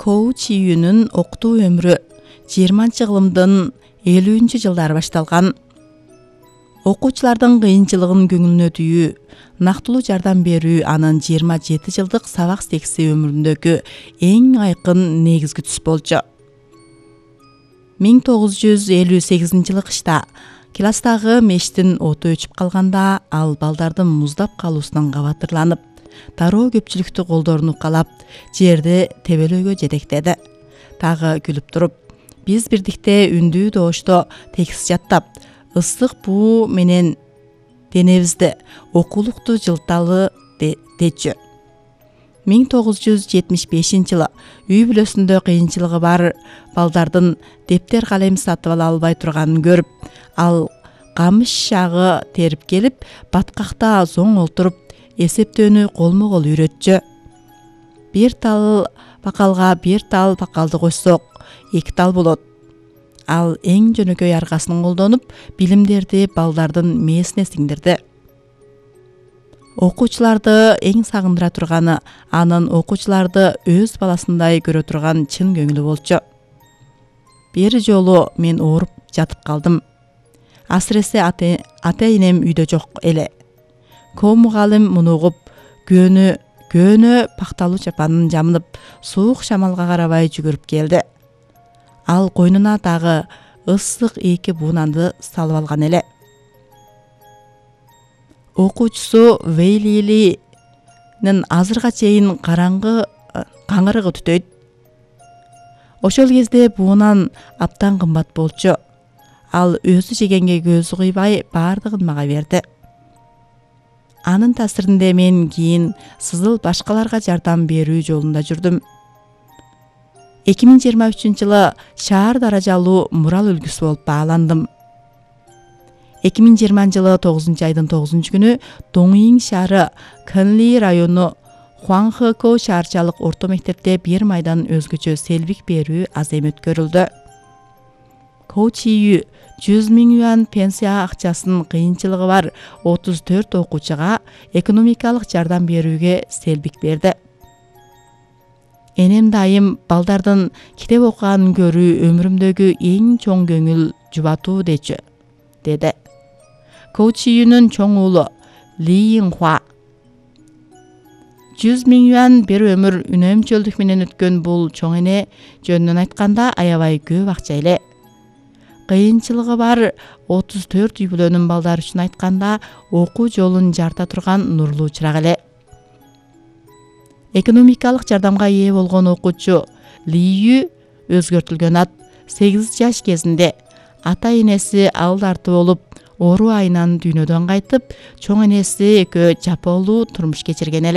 Коу Чиюнун окутуу өмүрү 20-кылымдын 50-жылдары башталган. Окуучулардын кыйынчылыгын көңүлүнө түйүү, нактылуу жардам берүү анын 27 жылдык сабак секси өмүрүндөгү эң айкын негизги түс болчу. 1958-жылы кышта класстагы мештин оту өчүп калганда ал балдардын муздап калуусунан кабатырланып, тароо көпчүлүктү колдорун укалап, жерди тебелөөгө жетектеди. Тагы күлүп туруп, биз бирдикте үндүү добушто текст жаттап, ысык буу менен денебизди окуулукту жылталы дечү. 1975-жылы үй бүлөсүндө кыйынчылыгы бар балдардын дептер калем сатып ала албай турганын көрүп, ал камыш шагы терип келип, баткакта зоң олтуруп, эсептөөнү колмо-кол үйрөтчү. Бир тал бакалга бир тал бакалды кошсок, 2 тал болот. Ал эң жөнөкөй аргасын колдонуп, билимдерди балдардын мээсине сиңдирди. Окуучуларды эң сагындыра турганы анын окуучуларды өз баласындай көрө турган чын көңүлү болчу. Бир жолу мен ооруп жатып калдым. Асыресе ата-энем үйдө жок эле. Коу мугалим муну угуп, көөнө пакталуу чапанын жамынып, суук шамалга карабай жүгүрүп келди. Ал койнуна дагы ысык 2 буунанды салып алган эле. Окуучусу Вейлилинин азырга чейин каңырыгы түтөйт. Ошол кезде буунан абдан кымбат болчу. Ал өзү жегенге көзү кыйбай бардыгын мага берди. Анын таасиринде мен кийин сызыл башкаларга жардам берүү жолунда жүрдүм. 2023-жылы шаар даражалуу мурал үлгүсү болуп бааландым. 2020-жылы 9-айдын 9-күнү Доңиң шаары Кэнли району Хуанхэкоу шаарчалык орто мектепте 1 майдан өзгөчө селбик берүү азем өткөрүлдү. Коу Чию 100 000 юан пенсия акчасын кыйынчылыгы бар 34 окуучуга экономикалык жардам берүүгө селбик берди. Энем дайым балдардын китеп окуганын көрүү өмүрүмдөгү эң чоң көңүл жубатуу деди. Коу Чиюнун чоң уулу Ли Инхуа. 100 000 юан бир өмүр үнөмчөлдүк менен өткөн бул чоң эне жөнүнөн айтканда аябай көп акча эле. Кыйынчылыгы бар 34 үй бүлөнүн балдары үчүн айтканда окуу жолун жарта турган нурлуу чырак эле. Экономикалык жардамга ээ болгон окуучу Лию өзгөртүлгөн ат 8 жаш кезинде ата-энеси ал дарты болуп, оору айынан дүйнөдөн кайтып, чоң энеси экөө жапоолуу турмуш кечирген эле.